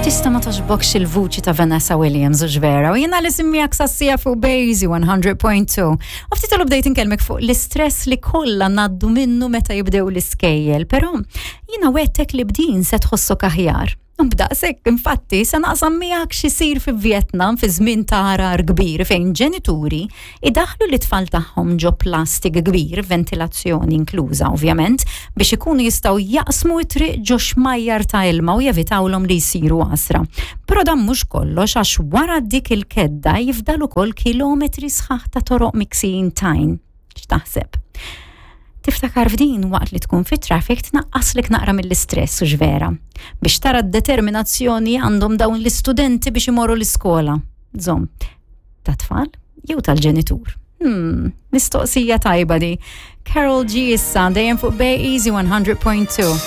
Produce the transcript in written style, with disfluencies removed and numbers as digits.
Kif tista' ma toġbokx il-vuċi ta' Vanessa Williams u ġvera u jiena li simmijak sassija fuq Bazy 100.2. U ftit ilu bdejt inkellmek fuq l-istress li kollha ngħaddu minnu meta jibdew l-iskejjel, però jiena wettek li bdin se tħossok aħjar. U b'daqshekk infatti se naqsam miegħek x'isir fi Vietnam fi żmien ta' għarar kbir fejn ġenituri idaħlu l-itfal tagħhom ġo plastik kbir, ventilazzjoni inkluża ovvjament, biex ikunu jistgħu jaqsmu t-triq ġo xmajjar ta' ilma u jevitawlhom li jsiru għasra. Però dan mhux kollox għax wara dik il-kedda jifdal ukoll kilometri sħaħ ta' toroq miksijin tajn. X'taħseb? Tiftakar f'din waqt li tkun fit traffic tnaqqaslek naqra mill-istress u x'vera. Biex tara d-determinazzjoni għandhom dawn l-istudenti biex imorru l-iskola. Żomm, ta' tfal jew tal-ġenitur? Mistoqsija tajba di. Karol G issa dejjem fuq Bay Easy 100.2.